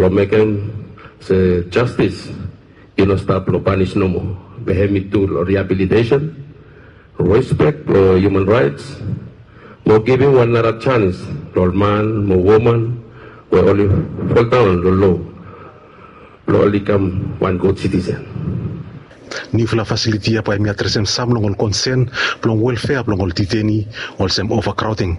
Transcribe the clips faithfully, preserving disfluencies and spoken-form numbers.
Long mekem se jastis i no stap long panis nomo, be hem i tu long riabilitesen, respek blong hiuman raets, mo givim wan nara janis long ol man mo woman we oli foldaon long lo blong oli kam wan gud sitisen. Niufala fasiliti ya bae hem i adresem sam long ol konsen blong welfea blong ol diteni, olsem ovakraoding.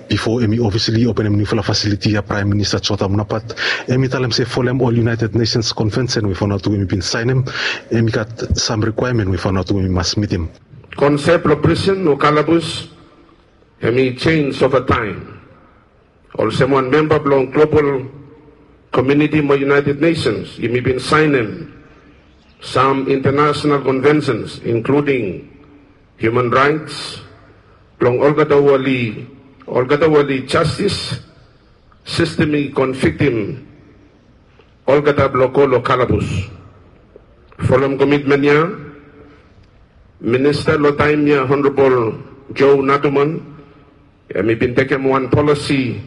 Bifo hem i ofisali openem niufala fasiliti ya, Praem Minista Jota Munapat hem i talem se folem ol United Nations Konvensen we Vanuatu hem i bin saenem, hem i gat sam rikwaemen we Vanuatu hem i mas mitim. Konsep blong prisen o kalabus hem i jenis ova taem. Olsem wan memba blong global komuniti mo United Nations, yumi bin saenem sam intanasonal konvensens, inkluding hiuman raets, blong olgeta we oli, olgeta we oli jastis sistem i konviktim olgeta blong go long kalabus. Folem komitmen ya, Minista long taem ya, Honorabol Joe Natuman, hem i bin tekem wan polisi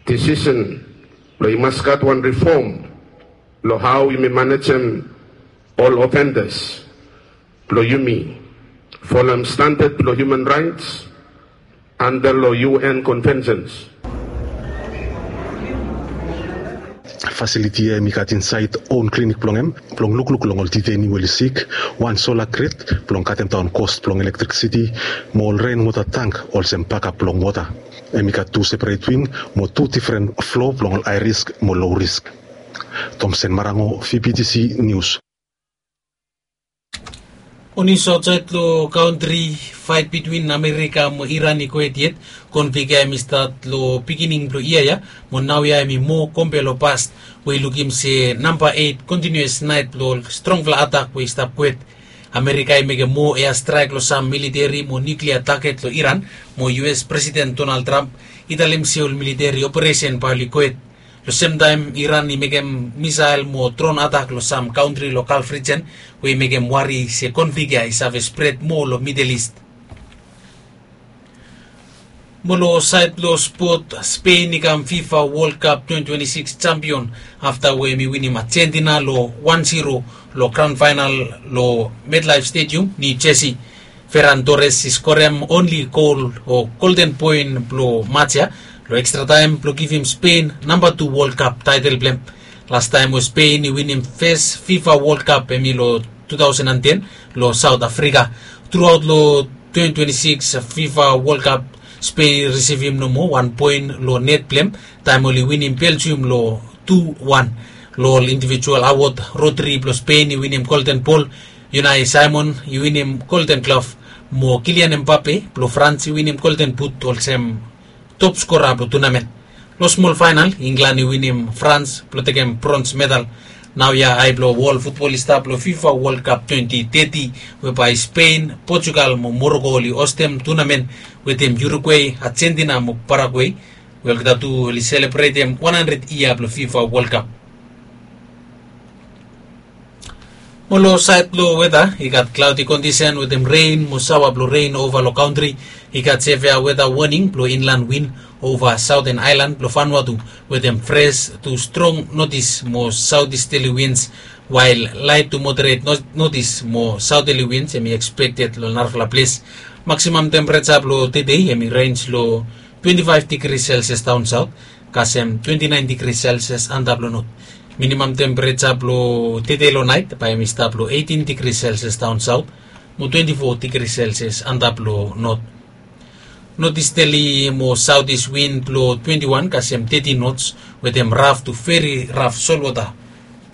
disisen blong i mas gat wan rifom long hao yumi manejem ol ofendas blong yumi folem standad blong hiuman raets anda long U N konvensens. Fasiliti ya hem i gat insaed own klinik blong hem blong lukluk long ol diteni we oli sik, wan sola grid blong katemdaon kos blong elektriksiti, mo ol renwota tang olsem bakap blong wota. Hem i gat tu seperet wing mo tu difren flo blong ol ae risk mo low risk. Tomsen Marango, V B T C Nius. Oni sotsaed long kantri, faet bitwin Amerika mo Iran i gohed yet. Konflik ya hem i stat long pikinini blong yia ya, mo naoia hem i moa kompe long pas, we i lukim se namba eit kontiniuas naet blong ol strongfala atak we i stap gohed. Amerika i mekem moa eastraek long sam militeri mo niuklia taget long Iran, mo U S Presiden Donald Trump i talem se ol militeri operesen bae oli gohed. Long semtaem Iran i mekem misael mo dron atak long sam kantri long Galf rijen, we i mekem wari se konflik ya i save spred moa long Midel Ist. Mo long saed blong spot, Spen i kam FIFA Wol Kap twenti twenti sikis jampion afta we hem i winim Ajentina long wan ziro long gran faenal long MetLife Stadium, Niu Jesi. Feran Tores i skorem onli gol o golden poen blong maj ya long ekstra taem blong givim Spen namba tu Wol Kap taetel blong hem. Lastaem we Spen i winim fes FIFA Wol Kap hem i long tu taosen an ten long Saot Afrika. Truaot long twenti twenti sikis FIFA Wol Kap, Spen i risivim nomo wan poen long net blong hem taem oli winim Beljium long tu wan. Long ol indivijual awod, Rodri blong Spen i winim Golden Bol, Unai Simon i winim Golden Glove, mo Kylian Mbappe blong Frans i winim Golden But olsem top skora blong tunamen. Long smol faenal, Inglan i winim Frans blong tekem brons medal. Naoia ae blong wol futbol i stap long FIFA Wol Kap twenti teti, we bae Spen, Potugal mo Moroko oli ostem tunamen wetem Urugwe, Ajentina mo Paragwe, we olgeta tu oli selebretem wan handred yia blong FIFA Wol Kap. Mo long saed blong weta, i gat klaodi kondisen wetem ren mo saoa blong ren ova long kantri. I gat sevea weta woning blong inlan win ova saoten aelan blong Vanuatu, wetem fres tu strong notis mo saotisterli wins, wael laet tu moderet notis mo saoterli wins hem i ekspekted long narafala ples. Maksimam tempereja blong tedei hem i renj long twenti faef digri Selsias daon saot, kasem twenti naen digri Selsias antap long not. Minimam tempereja blong tedei long naet bae hem i stap long eitin digri Selsias daon saot, mo twenti fo digri Selsias antap long not. Notisterli mo saotis win blong twenti wan kasem teti nots, wetem raf tu veri raf solwota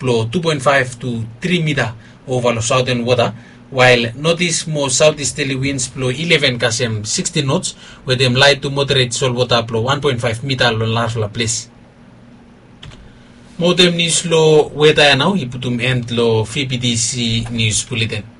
blong tu poen faef tu tri mita ova long saoten wota, wael notis mo saotisterli wins blong ileven kasem sikstin nots, wetem laet tu moderet solwota blong wan poen faef mita long narafala ples. Mo wetem nius long weta ya nao i putum en long V B T C Nius Buleten.